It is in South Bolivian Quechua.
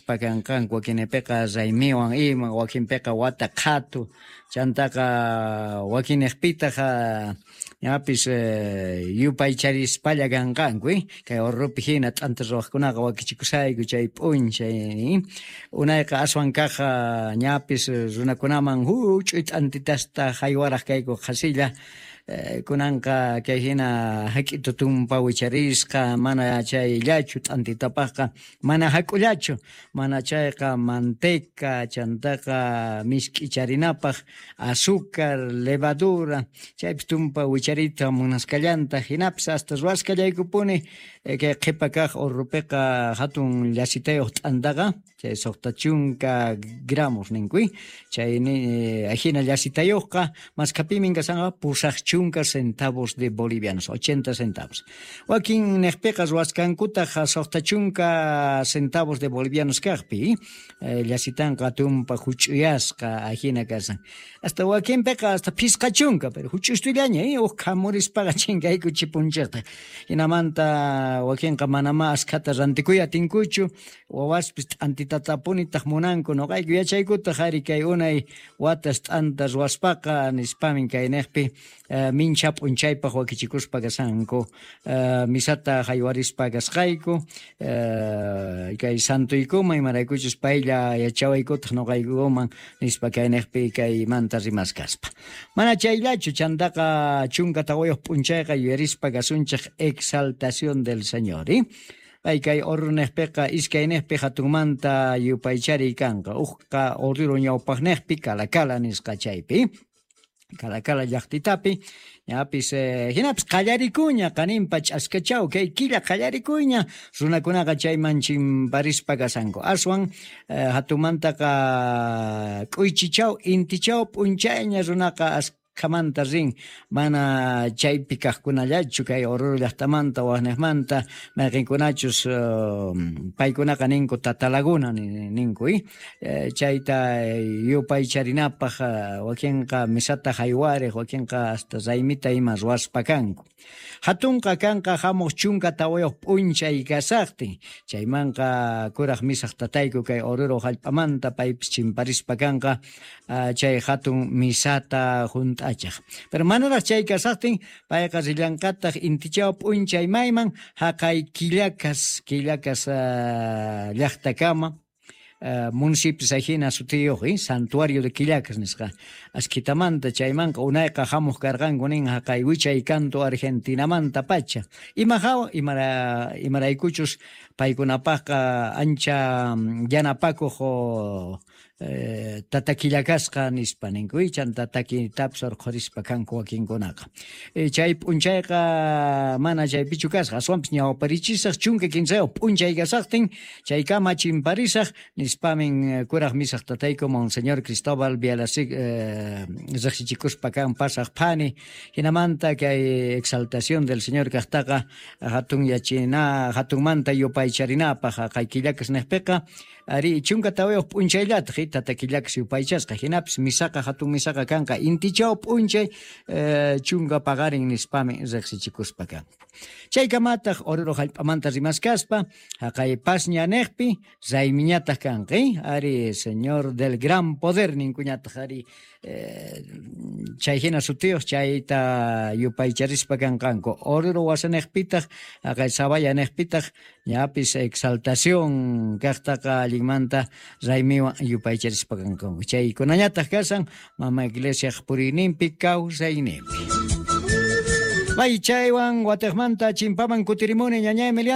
Kanqanku wakinpiqa raymiwan ima, wakinpiqa wata qhatu, chantaqa wakinnejpitaj ñapis yupaycharispalla kanqanku, kay Oruropi jina t'anta ruwajkunaqa wakichikushayku chay p'unchay, unayqa aswan kaj ñapis runakunaman juch'uy t'antitasta jaywaraj kayku qhasilla. Kunanqa kay jina jak'itu tumpa wicharisqa, mana chayllachu t'antitapajqa, mana jak'ullachu, mana chayqa manteca, chantaqa misk'icharinapaj azúcar, levadura, chaypis tumpa wicharita munasqallanta, jinapis hasta ruwasqallaykupuni kay qhepa kaj Oruropiqa jatun llasitayoj t'antaqa, chay 60 gramos ninku, chay ajina llasitayojqa maskhapimi kashanqa 80 centavos de bolivianos, 80 centavos. Wakin nejpiqa ruwasqankutaj 60 centavos de bolivianos kajpi, llasitanqa tumpa juch'uyasqa ajina kashan. Hasta wakinpiqa hasta 50, pero juch'ustullaña, uj khamurispaqa chinkayku chipunchejta. Jinamanta wakinqa manamá askhata rantikuy atinkuchu, wawaspis t'antitatapunitaq munanku, noqayku yachaykutaq ari kay unay watas t'anta ruwaspaqa nispamin kaynejpi mincha p'unchaypaj wakichikuspa kashanku, misata jaywarispa kasqayku, kay santoykuman imaraykuchus paylla yachawaykutaq noqaykuman nispa kaynejpi kaymanta rimaskaspa. Mana chayllachu, chantaqa 14 p'unchayqa yuyarispa kasunchej exaltación del Señor, Pay kay Oruro nejpiqa iskaynejpi jatunmanta yupaychariy kanqa, ujqa Oruro ñawpajnejpi Calacala nisqa chaypi, Calacala llaqtitapi, ñapis jinapis qallarikuña qaninpa ch'askachaw kay killa qallarikuña runakunaqa chayman chimparispa kashanku, aswan jatunmantaqa k'uychichaw intichaw p'unchayña runaqa askhamanta rin, mana chaypi kajkunallachu kay Oruro llaqtamanta wajnejmanta mayqinkunachus paykunaqa ninku Tata Laguna ninku, chayta yupaycharinapaj wakinqa misata jaywarej, wakinqa hasta raymita ima ruwaspa kanku. Jatunqa kanqa jamuq 14 p'unchay kasaqtin, chaymanqa kuraj misaj tatayku kay Oruro jallp'amanta paypis chimparispa kanqa chay jatun misata junt'achaj. Pero manaraj chay kasaqtin payqa rillanqataq intichaw p'unchay mayman jaqay Quillacas, Quillacas llaqtakama, municipios ajina sutiyuq, Santuario de Quillacas nisqa askitamanta chaymanqa unayqa jamuq karqanku nin jaqay wichay kantu Argentinamanta pacha. Ima jawa, imaraykuchus paykunapaqqa ancha yanapakuq tata Quillacasqa nispa ninku, chanta takitapis urqhurispa kanku wakinkunaqa. Chay p'unchayqa mana chaypichu kasqa, aswanpis ñawparichisaq 13 p'unchay kasaqtin chaykama chimparisaq nispamin kuraj misaj tatayku Monseñor Cristóbal Bialasik riqsichikuspa kan pasaq phani, jinamanta kay exaltación del Señor kaqtaqa hatun yachina, hatunmanta yupaycharinapaq jaqay Quillacas nejpiqa ari 14 p'unchayllataj tata Quillacas yupaychasqa, jinapis misaqa hatun misaqa kanqa intichaw p'unchay 10 paqarin nispami riqsichikuspa kanku. Chaykamataq Oruro jallp'amanta rimaskaspa jaqay Pasña nejpi raymiñataq kanqa, ari Señor del Gran Poder ninkuñataq ari chay jina sutiyuq chayta yupaycharispa kanqanku. Oruro wasanejpitaq jaqay Sabaya nejpitaq ñapis exaltación kaqtaqa allinmanta raymiwan yupaycharispa kanqanku. Chaykunañataq kashan mama iglesiaq puriyninpi kawsayninpi. May chaywan watejmanta chimpaman kutirimuni ñaña Emiliano.